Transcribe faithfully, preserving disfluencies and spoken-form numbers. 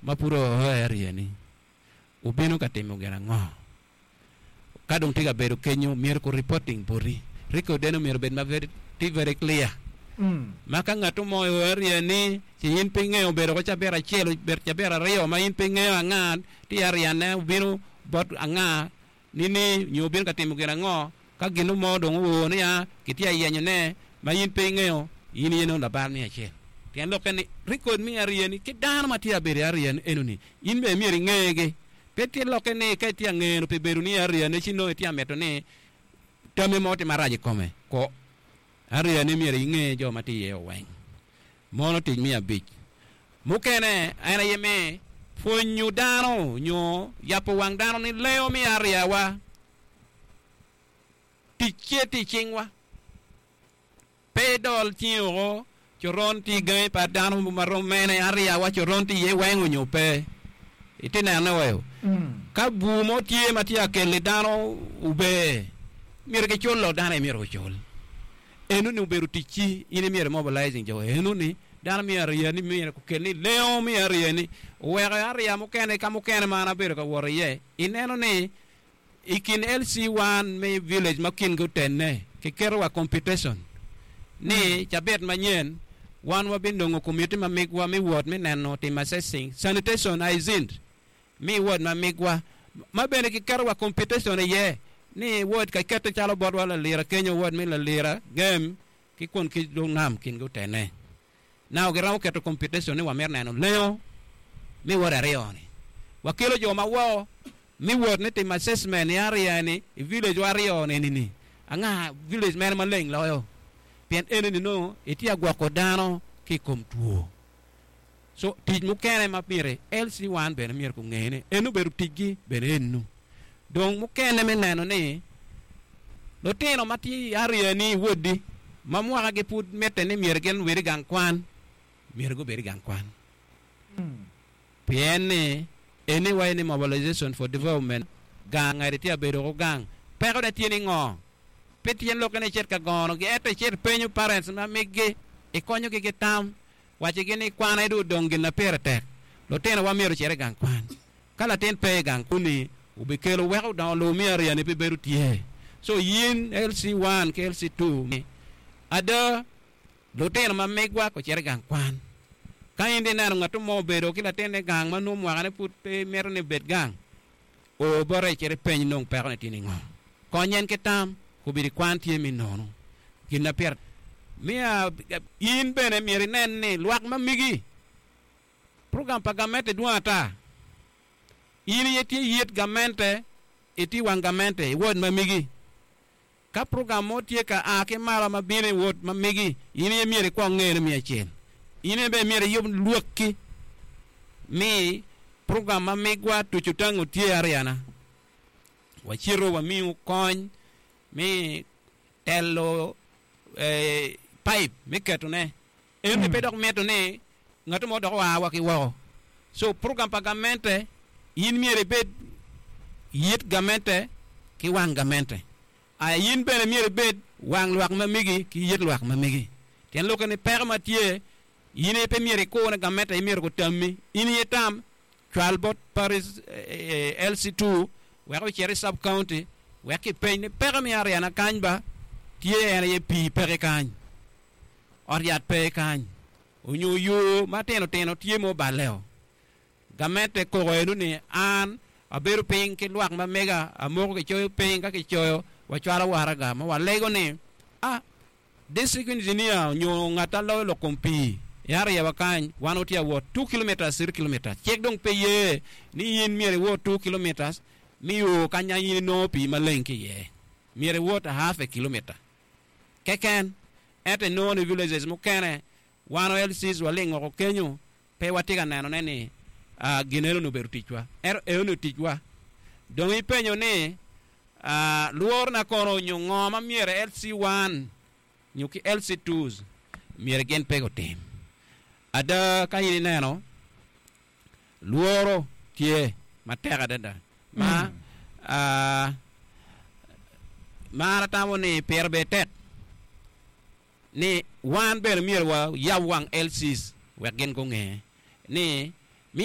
ma pud oo i area-ni obino ka timo gin ango ka dong tye ka bedo kenyo myero ku reporting boti record eno myero obed ma very, tye very clear ma ka ngat mo o area ni ci in pe ingeo obedo ko cabit acel obedo cabit aryo ma in pe ingeo anga tye area ne obino bot anga ni ni nyo obino ka timo gin ango ka gino mo dong owor ni a kitye ayenyo ne ma in pe ingeo in iye nongo labal me acel pien lokke ni record me area ni ki dano ma tye abedo i area ni eno ni in bene myero ingegi pe tye lokke ni ka itye angeno pi bedo ni area ne ci nongo itye amito ni tamme mo tye marac i kome ko area ni myero inge jo ma tye iye oweng mono tic me abic mukene en aye me pwonyo dano nyo yabo wang dano ni leo me area wa tic tye tye i cingwa pe dol cingi oko coron tye i gangi pa dano marom mene area wa coron tye iye weng onyo pe iti nene wayo ka bur mo tye ma tye akeli dano ober myero kiculo dano aye myero gucul eno ni obedo ticci in myero mobilizing jo eno ni dano me area ni myero okel ni leo me area ni oweko area mukene ka mukene ma an abedo ka wot iye ineno ni i kin L C one me village ma kingi otenne kiketo wa competition ni cabit manyen wan wabinongo committee ma migwa me wot me neno timo assessing sanitation hygiene mi ward ma migwa ma bene kiketo wa competition iye ni ward ka kete calo botwa Lalira kenyo ward me Lalira Gem ki kun ki dong nam kingi otene now giromo keto competition ni wamito neno leo mi ward aryo ni wakelo jo ma woko mi wot ni timo assessment i area ni i village wa aryo ni ni anga village mene maleng loyo pien eni ni nongo itye agwoko dano ki i kom two so tic mukene ma myero L C one bene myero kunge ni eno obedo ticgi bene enu dong mukene me neno ni lutino ma tye i area ni i wodi ma mwakagi pud mitte ni myero gin obed i gang kwan myero gubed i gang kwan pien ni eni wayi ni mobilization for development gang ngati tye abedo ko gang pekone tye ni ngo pe tyen lokke ni icit ka gonogi ento icit penyo parents ma miggi ikonyogi ki tam wacigi ni kwan aye dong odong gin na pire tek lutinowa myero ocit i gang kwan ka latin pe i gang kuni obikelo weko dongo lobo me area ni pe bedo tye so yin L C one ki L C two ada lutino ma migwa ocit i gang kwan ka in di neno ngat mo obedo ki latinne gang ma nongo mwakane pud pe mito ni obed gang o bote icit ipeny nong pekone tye ni ngo kony en ki tam kobedi kwan tye mi nono gin na pire mia in bene myero inen ni lwak ma migi program pa gamente dwong ata in iye tye yit gamente itye wang gamente i ward ma migi ka program mo tye ka a ki malo ma bino i ward ma migi in iye myero ikwong ngene mi acel in iye bene myero iyub lwakki mi program ma migwa tuco tango tye area-na wacito wamiyo kony mi telo eh, pipe me ketone eno pe dok mito ni ngat mo dok oa wa ki woko so program pa gamente in myero ibed yit gamente ki wang gamente aya in bene myero ibed wang lwak ma migi ki yit lwak ma migi tyen lokke ni peko ma tye in aye pe myero ikune gamente aye myero gutammi in iye tam cwal bot parish eh, L C two wek ocit i sub county wek kipeny ni peko me area na kany ba tye en aye pii peke kany ot yat pe kany onyo yo matino tino tye mo obaleo gamente koko eno ni an abedo piny ki lwak ma mega amoko kicoyo piny ka kicoyo wacwalo waraga ma walego ni ah district engineer onyo ngat a loyo lok kom pii i area wa kany wan watye awot two kilometers three kilometers cik dong pe ye ni in myero iwot two kilometers mi o kanya in inongo pii maleng ki iye myero iwot a half a kilometer keken ento inongo ni villages mukene wan L Cs waling oko kenyo pe watye ka nenone ni uh, gin eno ni obedo ticwa ento eno ni ticwa dong ipenyo ni uh, lworo na kono onyo ngo ma myero L C one nyo ki L C twos myero gin pe gutim ada ka in ineno lworo tye matek adada ma uh, ma an atamo ni pire bene tek ni wan bene myero wayab wang L Cs wek gin gunge ni